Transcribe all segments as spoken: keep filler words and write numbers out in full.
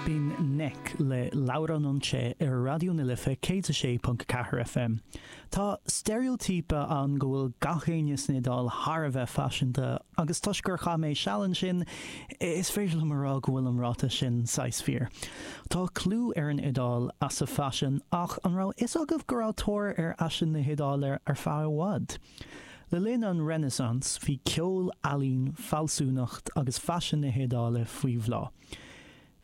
B'in Nek le Laura non c'è ar Raidió na Life céad a sé ponc ceathair FM. Tá steiréitíopa ann go bhfuil gach éinne san Iodáil thar a bheith faiseanta agus toisc gur chaith mé seal ansin, is féidir liom a rá go bhfuil an ráiteas sin saghas fíor. Tá clú ar an Iodáil as a faisean ach an raibh fhios agaibh go raibh tóir ar fhaisean na hIodáile ar feadh i bhfad? Le linn an Renaissance bhí ceol, ealaín, fealsúnacht agus faisean na hIodáile faoi bhláth.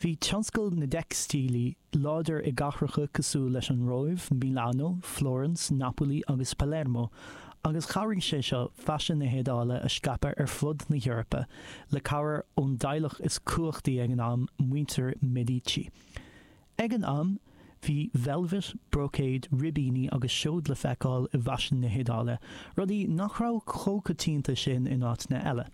Bhí tionscal na dteicstílí láidir i gcathracha cosúil leis an Róimh, Milano, Florence, Napoli agus Palermo, agus chabhraigh sé seo faisean na hIodáile a scaipeadh ar fud na hEorpa, le cabhair ón dteaghlach is cumhachtaí ag an am, muintir Medici. Ag an am, bhí velvet, brocade, ribíní agus seod le feiceáil i bhfaisean na hIodáile, rudaí nach raibh chomh coitianta sin in áiteanna eile.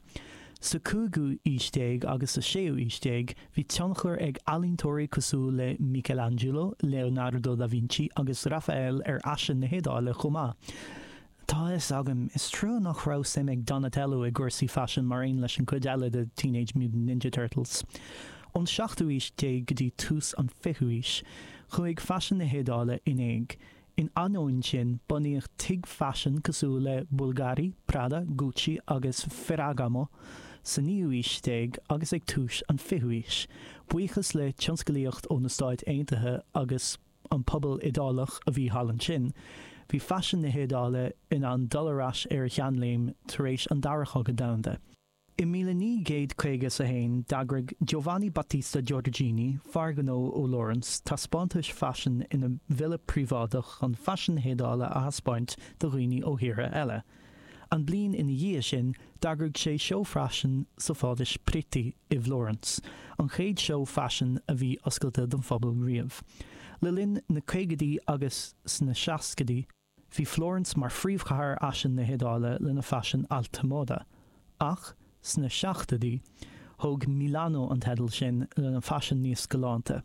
Sa cúigiú aois déag agus sa séú aois déag, bhí tionchar ag ealaíontóirí cosúil le Michelangelo, Leonardo da Vinci agus Raphael ar fhaisean na hIodáile chomh maith. Tá a fhios agam, is trua nach raibh suim ag Donatello i gcúrsaí faisin mar aon leis an gcuid eile de Teenage Mutant Ninja Turtles. Ón seachtú aois déag go dtí tús an fichiú aois, chuaigh faisean na hIodáile in éag. In ainneoin sin, bunaíodh tithe faisin cosúil le Bulgari, Prada, Gucci agus Ferragamo sa naoú aois déag agus ag tús an fichiú aois. Buíochas le tionsclaíocht ó na Stáit Aontaithe agus an pobal Iodálach a bhí thall ansin, bhí faisean na hIodáile in ann dul ar ais ar a sheanléim tar éis an Dara Chogadh Domhanda. I míle naoi gcéad caoga is a haon, d'eagraigh Giovanni Battista Giorgini, fear gnó ó Fhlórans, taispeántais faisin ina villa príobháideach chun faisean na hIodáile a thaispeáint do dhaoine ó thíortha eile. An bhliain ina dhiaidh sin, d'eagraigh sé seó faisin sa Phálas Pitti i bhFlórans, an chéad seó faisin a bhí oscailte don phobal riamh. Le linn na caogaidí agus sna seascaidí, bhí Flórans mar phríomhchathair fhaisin na hIodáile lena faisean alta moda. Ach sna seachtóidí, thóg Milano an teideal sin lena faisean níos galánta.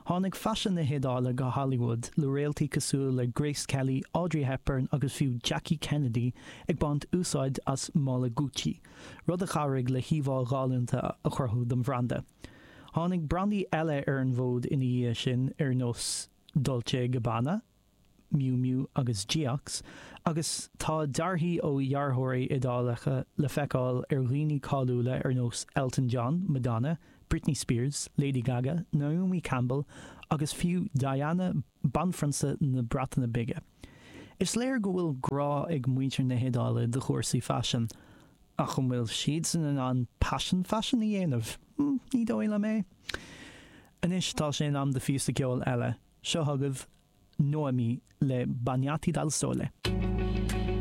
Tháinig faisean na hIodáile go Hollywood le réaltaí cosúil le Grace Kelly, Audrey Hepburn agus fiú Jackie Kennedy ag baint úsáid as mála Gucci, rud a chabhraigh le híomhá ghalánta a chruthú don bhranda. Tháinig brandaí eile ar an bhfód ina dhiaidh sin ar nós Dolce Gabbana, Miu Miu agus Geox, agus tá dearthaí ó dhearthóirí Iodálacha le feiceáil ar dhaoine cáiliúla ar nós Elton John, Madonna, Britney Spears, Lady Gaga, Naomi Campbell agus fiú Diana, banphrionsa na Breataine Bige. Is léir go bhfuil grá ag muintir na hIodáile do chúrsaí faisin, ach an bhfuil siadsan in ann paisean faisin a dhéanamh? Ní dóigh liom é. Anois tá sé in am do phíosa ceoil eile. Seo chugaibh Noemi le Bagnati dal Sole.